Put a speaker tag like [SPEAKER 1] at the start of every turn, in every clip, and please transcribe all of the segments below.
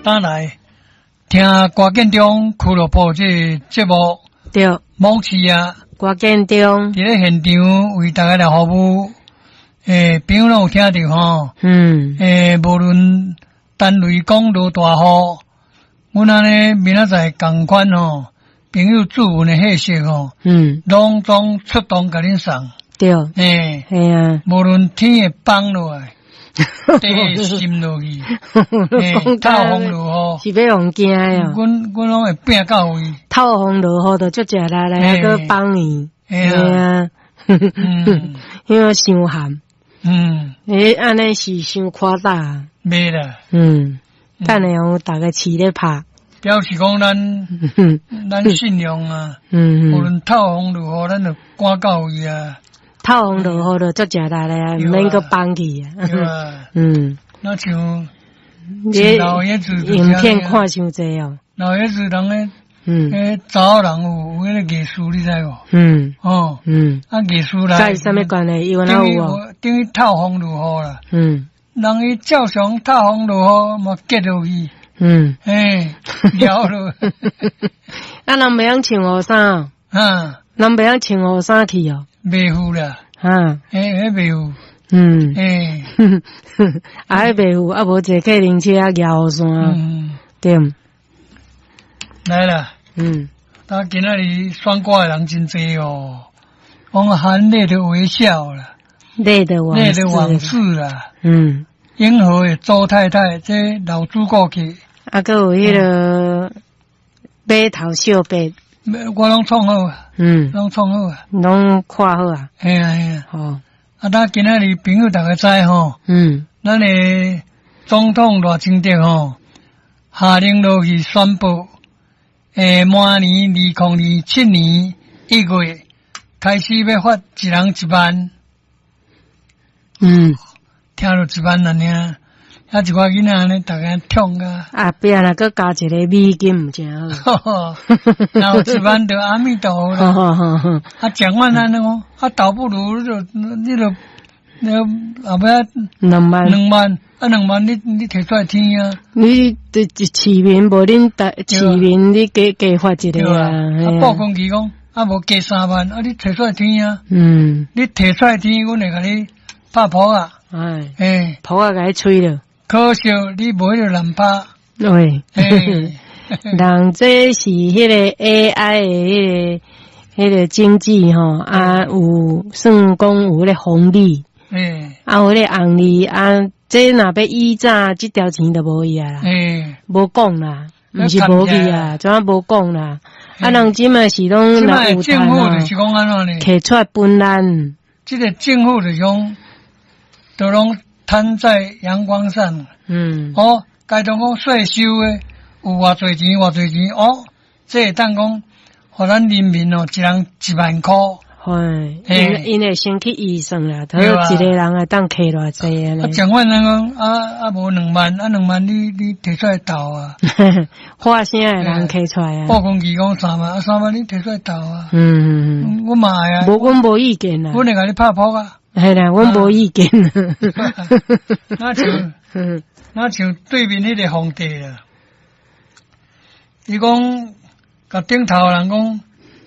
[SPEAKER 1] 轉來聽歌建中俱樂部這個節目，網視啊，
[SPEAKER 2] 歌建中
[SPEAKER 1] 佇咧現場為大家來服務，朋友攏有聽著吼，無論單位講落大雨，阮按呢明仔載仝款吼，朋友注文的貨色吼，攏總出動共恁送，無論天會崩落來，地會滲落去，透風落雨，
[SPEAKER 2] 是欲予驚的哦。
[SPEAKER 1] 阮攏會拼到位。
[SPEAKER 2] 透風落雨就足食力咧，閣放伊，嘿啊，因為傷寒。按呢是傷誇大。
[SPEAKER 1] 袂啦。
[SPEAKER 2] 等下予逐家試咧拍。
[SPEAKER 1] 表示講咱信用啊，無論透風落雨，咱就趕到位啊。
[SPEAKER 2] 透風落雨就足食力咧，毋免閣放去啊。
[SPEAKER 1] 那像
[SPEAKER 2] 你
[SPEAKER 1] 老爺子
[SPEAKER 2] 影片看傷濟哦。
[SPEAKER 1] 老爺子人咧，查某人有彼個藝術，你知無？哦。啊，藝術來。
[SPEAKER 2] 佮伊啥物關係？伊有哪有哦？
[SPEAKER 1] 等於透風落雨啦。人伊照常透風落雨嘛，結落去。了咯。
[SPEAKER 2] 啊，人袂曉穿雨衫。人袂曉穿雨衫去哦。
[SPEAKER 1] 袂赴啦。彼袂赴。
[SPEAKER 2] 啊，彼袂赴，啊，無坐客人車啊，舉雨傘。對。
[SPEAKER 1] 來啦。啊，今仔日選歌的人真濟哦，講含淚的微笑啦，
[SPEAKER 2] 淚的往
[SPEAKER 1] 淚的往事啦。永和的周太太，這老主顧去。
[SPEAKER 2] 啊，閣有彼个碼頭小白。
[SPEAKER 1] 我攏創好。攏創好啊。
[SPEAKER 2] 攏看好啊。
[SPEAKER 1] 嘿啊嘿啊。啊，咱今仔日朋友逐家知吼。咱的總統賴清德吼，下令落去宣布，明年2027年1月開始欲發一人一萬。聽著一萬按呢，啊一寡囡仔按呢，逐家痛啊。
[SPEAKER 2] 啊，後壁若閣加一个美金，毋誠好。
[SPEAKER 1] 若有一萬就阿彌陀佛啦。啊，講完按呢講，啊，倒不如你就你後尾
[SPEAKER 2] 兩萬，
[SPEAKER 1] 兩萬，啊，兩萬你提出來聽啊。
[SPEAKER 2] 你佇市民無恁台市民，你加加發一个啊。
[SPEAKER 1] 啊，報公期講，啊，無加3萬，啊，你提出來聽啊。你提出來聽，阮會共你拍噗仔。
[SPEAKER 2] 噗仔共你吹了。
[SPEAKER 1] 可惜你無彼个難拍。
[SPEAKER 2] 對。人這是彼个 AI 的彼个經濟吼，啊，有算講有彼个紅利。啊，有彼个紅利啊，這若欲以早，這條錢就無去啊啦。無講啦，毋是無去啊，怎啊無講啦？啊，人這馬是攏若有
[SPEAKER 1] 政府就是講按怎呢？
[SPEAKER 2] 提出來分咱。
[SPEAKER 1] 這个政府就是講，都攏攤在陽光上。哦，該當講稅收的有偌濟錢，偌濟錢哦，這會當講，予咱人民哦，一人1萬箍。
[SPEAKER 2] 嘿，𪜶會先去預算啦，他一个人會當摕偌濟按呢。
[SPEAKER 1] 啊，講完人講啊啊，無兩萬，啊兩萬你提出來投啊。
[SPEAKER 2] 發聲的人提出來啊。
[SPEAKER 1] 報公期講三萬，啊三萬你提出來投啊。阮嘛愛啊。
[SPEAKER 2] 無，阮無意見啦。
[SPEAKER 1] 阮會共你拍噗仔。
[SPEAKER 2] 嘿啦，阮無意見。
[SPEAKER 1] 那像對面彼個皇帝啦，伊講共頂頭人講，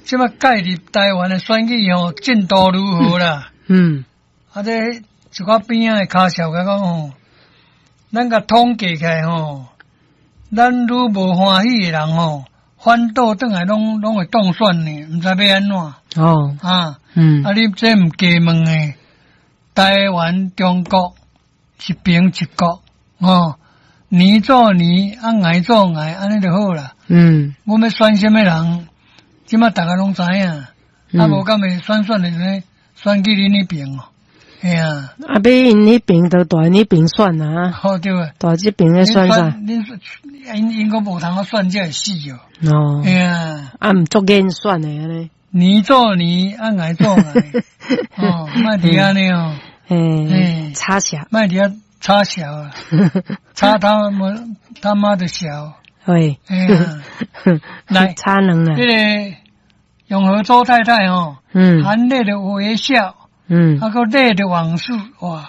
[SPEAKER 1] 這擺介入台灣的選舉吼，進度如何啦？啊，這一寡邊仔的跤數共講吼，咱共統計起來吼，咱愈無歡喜的人吼，反倒轉來攏會當選呢，毋知欲按怎。啊。啊，你這毋加問的，台灣中國一邊一國，哦，年做年，啊𠊎做𠊎，按呢就好啦。阮欲選啥物人，這馬逐家攏知影，啊無敢會選選的時陣，選去恁彼邊哦，嘿啊。
[SPEAKER 2] 啊，欲𪜶彼邊就蹛彼邊選啊。
[SPEAKER 1] 好對啊。
[SPEAKER 2] 蹛這邊咧選啥？
[SPEAKER 1] 恁𪜶𪜶閣無通好選才會死哦。嘿啊。
[SPEAKER 2] 啊，毋足癮選的按呢。
[SPEAKER 1] 年做年，啊𠊎做𠊎，哦，莫佇按呢哦。
[SPEAKER 2] 嘿，插潲。
[SPEAKER 1] 莫佇遐插潲啊，插他媽他媽的潲。
[SPEAKER 2] 會。
[SPEAKER 1] 來，
[SPEAKER 2] 插兩啊。
[SPEAKER 1] 這个永和周太太吼，含淚的微笑，啊閣淚的往事，哇。